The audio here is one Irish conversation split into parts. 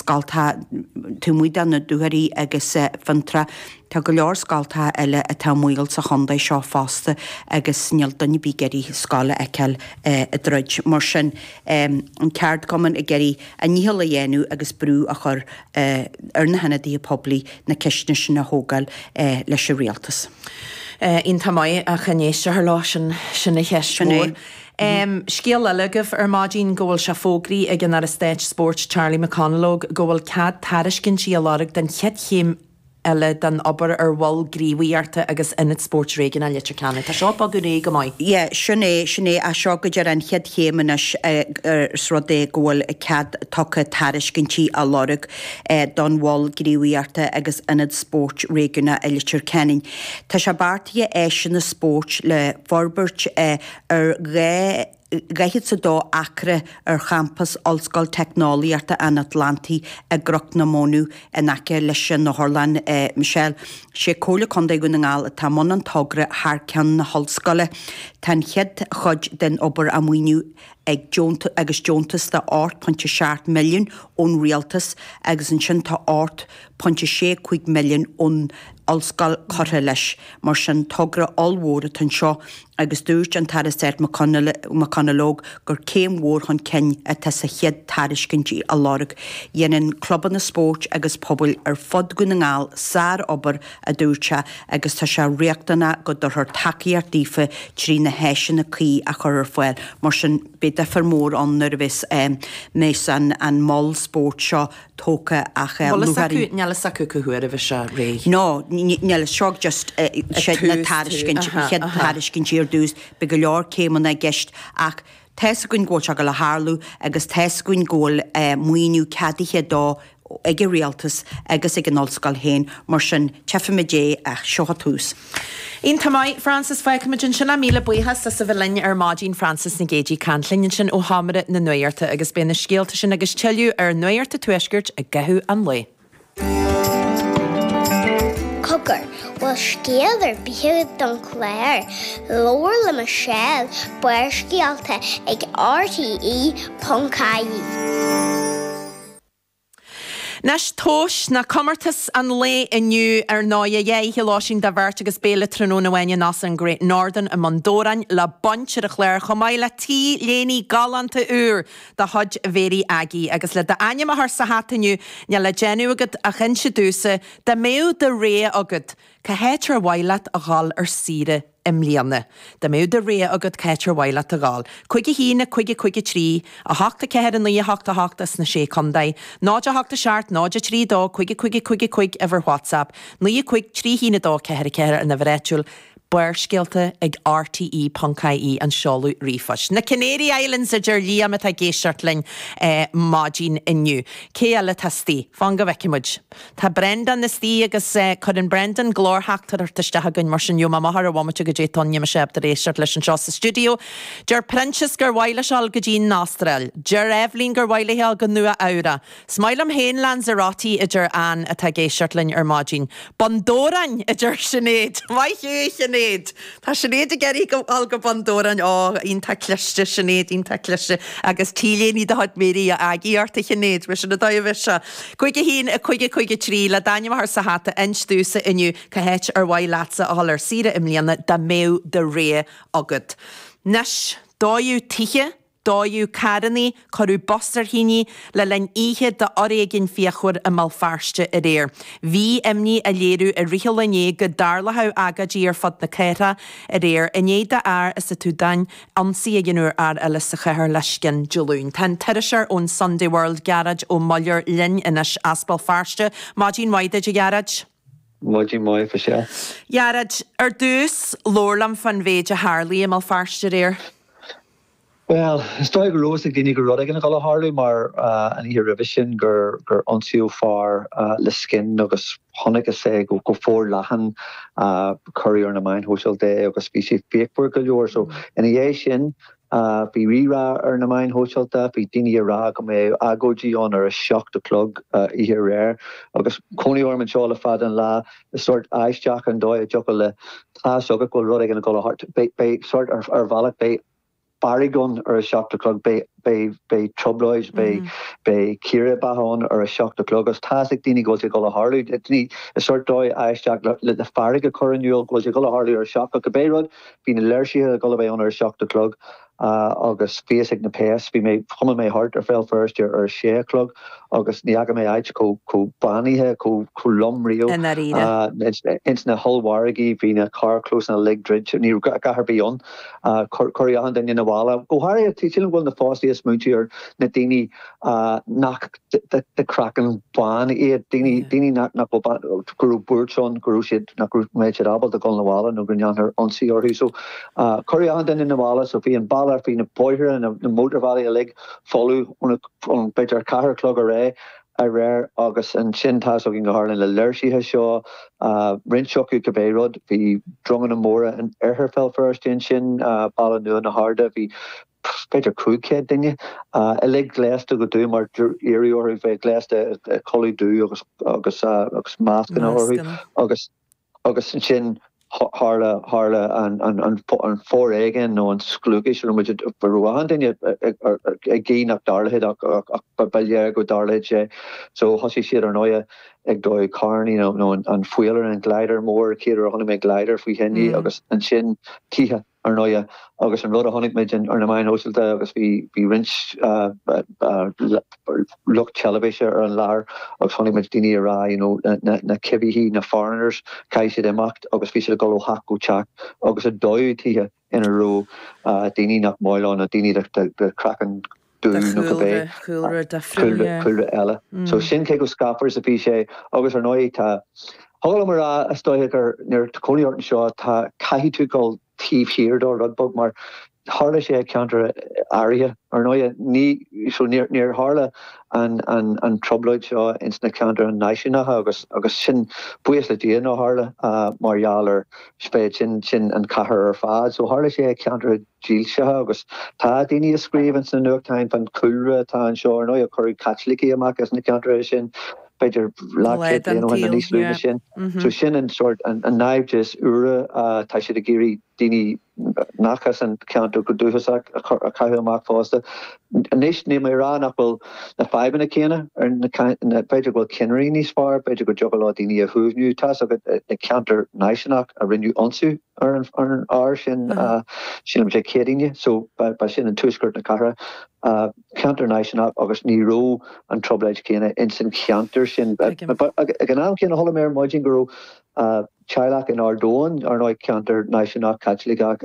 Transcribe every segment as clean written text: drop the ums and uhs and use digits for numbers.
scoltacha taobh amuigh de na Dúchoraidh agus Fionntrá. Tá go leor scoltacha eile atá i mbaol sa chontae seo fosta agus níl duine ar bith ag iarraidh scoil a fheiceáil ag druid. Mar sin, an ceardchumann ag iarraidh a ndícheall a dhéanamh agus brú a chur ar na hionadaithe poiblí na ceisteanna sin a thógáil leis an rialtas. Iontach maith ach an éisteofar leo, sin sin an cheist mhór. Scéal eile agaibh ar maidin go bhfuil sé fógraithe ag an Aire Stáit Spóirt Charlie McConalogue go bhfuil cead tairiscintí a lorg don chéad chéim eile den obair ar Mhol Gníomhaíochta agus Ionad Spóirt Réigiúnach Leitir Ceanainn. Tá seo ag bogadh ar aghaidh go maith. Yeah, sin é, sin é. Ach seo go díreach an chéad chéim anois is rud é go bhfuil cead tugtha tairiscintí a lorg don Mhol Gníomhaíochta agus Ionad Spóirt Réigiúnach i Leitir Ceanainn. Tá sé beartaithe áiseanna spóirt le forbairt ar 2 42 acra ar champas Ollscoil Teicneolaíochta an Atlantaigh i gCnoc na Mónadh in aice leis an Otharlann. Michelle, Sé Comhairle Contae Dhún na nGall atá i mbun an togra thar ceann na hollscoile. Tá an chéad chuid den obair á maoiniú ag agus deontas de 8.7 milliún ón rialtas agus ansin tá 8.65 milliún ón ollscoil curtha leis. Mar sin togra ollmhór atá anseo agus dúirt an tAire Stáit McConalogue gur céim mhór chun cinn atá sa chéad tairiscintí a lorg. Déanann clubanna spóirt agus pobail ar fud Dhún na nGall sár-obair, a dúirt sé, agus tá sé riachtanach go dtabharfar tacaíocht daofa trí na háiseanna cuí a chur ar fáil. Mar sin, beidh difear mór ann nuair a bheas mbeas an mol spóirt seo tógtha ach Bhfuil fhios acu, níl fhios acu cá huair a bheidh sé réidh. No, níl, seo just siad na tairiscint, chéad tairiscintí ar dtús, beidh go leor céimeanna i gceist ach tá's againn go bhfuil sé ag dul a tharlú agus tá's againn go bhfuil maoiniú ceadaithe dó ag an rialtas agus ag an ollscoil féin, mar sin tchífimid é ach seo an tús. Iontach maith, Frances, fágfaimid ansin é. Míle buíochas as a bheith linn ar maidin, Frances Nic Géadaigh ag caint linn ansin ó Sheomra na Nuachta agus beidh na scéalta sin agus tuilleadh ar Nuacht an Tuaiscirt i gcaitheamh an lae. Cogar, bhfuil scéal ar bith agat don chlár? Labhair le Michelle, Barrscéalta ag RTE.ie. Anois, tomhais ná comórtas an lae inniu ar ndóighe, dhá oíche lóistín do bheirt agus béile tráthnóna amháin in Óstán an Great Northern i mBun Dobhráin le baint ar an chlár chomh maith le T-léine galánta úr de chuid Mhéirí Aggie. Agus le d'ainm a chur sa hata inniu, níl le déanamh agat ach inse domhsa, dá mbeadh do rogha agat, cá háit ar mhaith leat a dhul ar saoire? i mbliana. Dá mbeadh do rogha agat cá háit ar mhaith leat a dhul. 5 1 5 5 3, 8 4 9 8 8 as na Sé Contae, 0 8 7 0 3 2 5 5 5 5 uimhir WhatsApp, 9 5 3 1 2 4 4 an uimhir áitiúil, Barrscéalta ag rte.ie an seoladh ríomhphoist. Na Canary Islands a deir Liam atá ag éisteacht linn maidin inniu. Cé eile atá istigh? Fan go bhfeicfidh muid. Tá Brendan istigh agus cuireann Brendan glórtheachtaireacht isteach chugainn mar sin gheobhaidh mé amach ar an bhomaite goidé atá ann níl mise ábalta éisteacht leis anseo sa stiúideo. Deir Proinsias gur mhaith leis dul go dtí an Astráil. Deir Eibhlín gur mhaith léi dul go Nua Eabhrac. Is maith liom féin Lanzarote a deir Ann atá ag éisteacht linn ar maidin. Bun Dobhráin a deir Sinéad. Maith thú a Shinéad! Tá Sinéad ag iarraidh dul go Bun Dobhráin. Ó, iontach cliste, Sinéad, iontach cliste. Agus T-léine de chuid Mary Aggie ort, a Shinéad. Bhuel, sin an dóigh a bheidh sé. 5 1 5 5 3, le d'ainm a chur sa hata, inis domhsa inniu cá háit ar mhaith leatsa a dhul ar saoire i mbliana dá mbeadh do rogha agat. Anois, dódh tithe. Dódh carrannaí, cuireadh bus ar thine le linn oíche d'fhoréigean fíochmhar i mBéal Feirste aréir. Bhí imní á léiriú i rith an lae inné go dtarlódh agóidí ar fud na cathrach aréir i ndiaidh d'fhear as an tSúdáin ionsaí a dhéanamh ar fhear eile sa chathair le scian Dé Luain. Tá an t-iriseoir ón Sunday World, Gearóid Ó Muilleoir linn anois as Béal Feirste. Maidin mhaith duit, a Ghearóid. Maidin mhaith, a Mhichelle. Ghearóid, ar dtús, labhair liom fán mhéid a tharlaigh i mBéal Feirste aréir. Bhuel, is dóigh go raibh fhios ag daoine go raibh rud éigin ag dul a tharlú mar an oíche roimhe sin gur gur ionsaíodh fear le scian agus chonacthas é go forleathan, cuireadh ar na meáin shóisialta é agus bhí sé fíochmhar go leor. So ina dhiaidh sin bhí rí-rá ar na meáin shóisialta, bhí daoine ag rá go mbeadh agóidí ann ar a 7 a chlog oíche aréir agus cónaí orm anseo le fada an lá, is sórt aisteach an dóigh a dtiocfadh le, tá fhios agat go bhfuil rud éigin ag dul a tharlú, beidh sórt ar bhealach, beidh. fearg ann ar a 7 a chlog, beidh, beidh, beidh trioblóid, beidh, beidh círéibeacha ann ar a 7 a chlog agus tá's ag daoine go bhfuil sé ag dul a tharlú. Daoine i sort dóigh aisteach le, le fearg a chur in iúl go bhfuil sé ag dul a tharlú ar a 7 ach cibé rud, bhí na léirsithe ag dul a bheith ann ar a 7 a chlog. Agus bhí fhios ag na péas, bhí mé, chuimil mé thart ar Bhéal Feirste ar a sé a chlog agus ní fhaca mé áit chomh, chomh bánaithe, chomh, chomh lom riamh. I ndáiríre. Ins na hollmhargaí bhí na carrchlósanna uilig druidte, ní raibh a dhath ar bith ann. Cuireadh achan duine 'na bhaile. Go háirithe, sílim go bhfuil na póilíní ag smaointiú ar na daoine nach de chraiceann bán iad, daoine, daoine nach, nach bhfuil, go raibh buairt ann, go raibh siad, nach raibh, mbeadh siad ábalta dul 'na bhaile nó go ndéanfar ionsaí orthu. So, cuireadh achan duine 'na bhaile, so bhí an baile, bhí na bóithre, na, na mótarbhealaí uilig folamh ón, ón b'fhéidir 4 a chlog aréir, aréir agus ansin tá fhios againn go tharla na léirsithe seo, roinnt acu cibé rud, bhí dronganna móra in oirthear Bhéal Feirste ansin, Baile Nua na hArda, bhí b'fhéidir 500 duine, uilig gléasta go dubh mar iarradh orthu bheith gléasta i culaith dubh agus agus agus mascanna orthu agus agus ansin tharla tharla an an an an foréigean nó an scliúchas a raibh muid a raibh achan duine ag guí nach dtarlódh ach ach ba léir go dtarlódh sé. So thosaigh siad ar ndóighe ag dó carrannaí nó nó an faoileán an glider mór, chéad uair a chonaic mé glider faoi thine agus ansin tithe. ar ndóighe, agus an rud a chonaic muid ar na meáin shóisialta agus bhí bhí roinnt lucht teilifíse ar an láthair agus chonaic muid daoine ag rá you know na na coimhthígh, na foreigners, caithfidh siad imeacht agus bhí siad ag dul ó theach go teach agus ag dódh tithe ina raibh daoine nach maith leo nó daoine de chraiceann dubh nó cibé cúlra difriúil, cúlra eile. So sin cé chomh scáfar is a bhí sé agus ar ndóigh tá, thig liom a rá is dóiche gur nuair atá cónaí ort anseo tá, caithfidh tú dul taobh thiar dó rud beag mar tharla sé i ceantar áirithe. Ar ndóigh ní, so níor, níor tharla an, an, an trioblóid seo ins na ceantair náisiúnacha agus, agus sin, buíochas le Dia nár tharla mar gheall ar spéid sin, sin an chathair ar fad. So tharla sé i ceantar dílseacha agus tá daoine ag scríobh ins na nuachtáin fán chúlra atá anseo. Ar ndóigh cuireadh Caitlicigh amach as na ceantracha sin b'fhéidir leathchéad bliain ó shin nó níos lú ná sin. So sin an sórt, an naimhdeas úr, tá siad ag iarraidh daoine nach as an cheantar go dúchasach a chaitheamh amach fosta. Anois níl mé ag rá nach bhfuil na fadhbanna céanna ar na, b'fhéidir go bhfuil cinnirí níos fearr, b'fhéidir go dtiocfadh leo daoine a shuaimhniú. Tá's agat na ceantair náisiúnach a rinneadh ionsaí ar an fhear sin, sílim Dé Céadaoine, so ba sin in tuaisceart na cathrach, ceantar náisiúnach agus ní raibh an trioblóid chéanna ins an cheantar sin. Ag an am céanna chuala mé ar maidin go raibh teaghlach in Ard Eoin, ar ndóigh ceantar náisiúnach Caitliceach,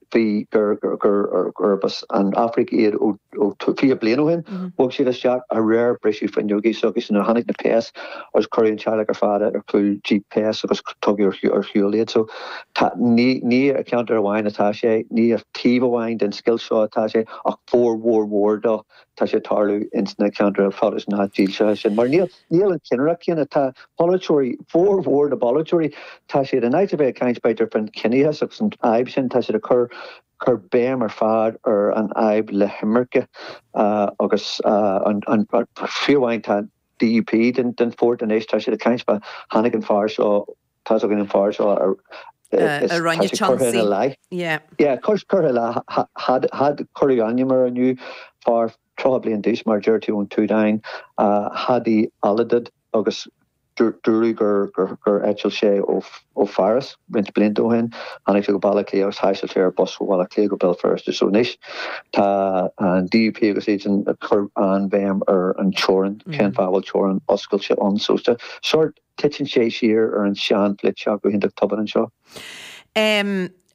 bhí gur gurb as an Afraic iad ó 20 bliain ó shin. Bhog siad isteach aréir briseadh fuinneogaí s'acu nuair a tháinig na péas agus cuireadh an teaghlach ar fad ar chúl jíp péas agus tugadh ar shiúl iad. So tá ní ní i ceantar amháin atá sé, ní i taobh amháin den scoilt seo atá sé ach formhór mhór dó tá sé ag tarlú ins na ceantair Phrotastúnacha dílseacha sin. Mar níl níl an chinnireacht céanna. Tá polaiteoirí, formhór na bpolaiteoirí, tá siad in áit a bheith ag caint b'fhéidir faoin chiníochas agus an fhadhb sin, tá siad ag cur cur béim ar fad ar an fhadhb le himirce agus an an fiú amháin tá DUP den den pháirt anois, tá siad ag caint fá tháinig an fear seo Tá's againn an fear seo a a rinne tá sé curtha ina leith. Yeah. Yeah, curtha ina leith. Had cuireadh ainm air inniu, fear 30 bliain d'aois mar deir tú ón tSúdáin, Hadi Alidad agus dúradh gur gur eitil sé ó ó Pháras roinnt blianta ó shin. Tháinig sé go Baile Átha Cliath agus thaistil sé ar bus ó Bhaile Átha Cliath go Béal Feirste. So anois tá an DUP agus iad sin ag cur an-bhéim ar an teorainn, cén fáth a bhfuil teorainn oscailte ann. So sórt Titeann sé siar ar an sean-pholaitíocht go hiontach tobann anseo.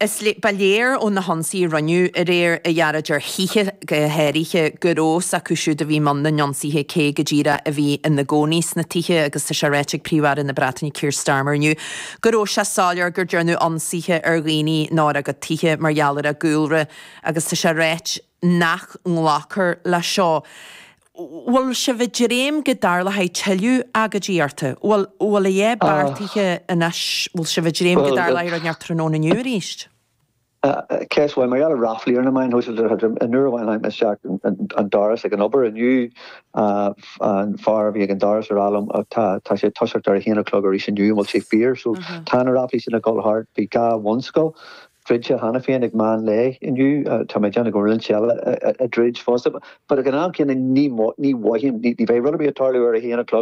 Is ba léir ó na hionsaithe a rinneadh aréir, a Ghearóid, ar thithe go háirithe, go raibh fhios acu siúd a bhí i mbun na n-ionsaithe cé go díreach a bhí ina gcónaí sna tithe agus tá sé ráite ag Príomh-Aire na Breataine Keir Starmer inniu go raibh sé soiléir gur déanadh ionsaithe ar dhaoine nár a gcuid tithe mar gheall ar a gcúlra agus tá sé ráite nach nglacfar leis seo. Bhfuil sibh ag dréim go dtarlóidh tuilleadh agóidíochta? Bhfuil, bhfuil a dhath beartaithe anois, bhfuil sibh ag dréim go dtarlóidh rud inteacht tráthnóna inniu arís? Ceist mhaith. Mar gheall ar ráflaí ar na meáin shóisialta, an uair amháin tháinig mé isteach an doras ag an obair inniu, an fear a bhí ag an doras a rá liom tá tá sé ag toiseacht ar a haon a chlog arís inniu, an bhfuil sé fíor? So tá na ráflaí sin ag dul thart. Bhí dhá bhunscoil. Druidte cheana féin ag meán lae inniu. Tá mé ag déanamh go bhfuil roinnt eile ag druid fosta. But ag an am céanna ní mhothaím, ní bheidh rud ar bith ag tarlú ar a haon a chlog.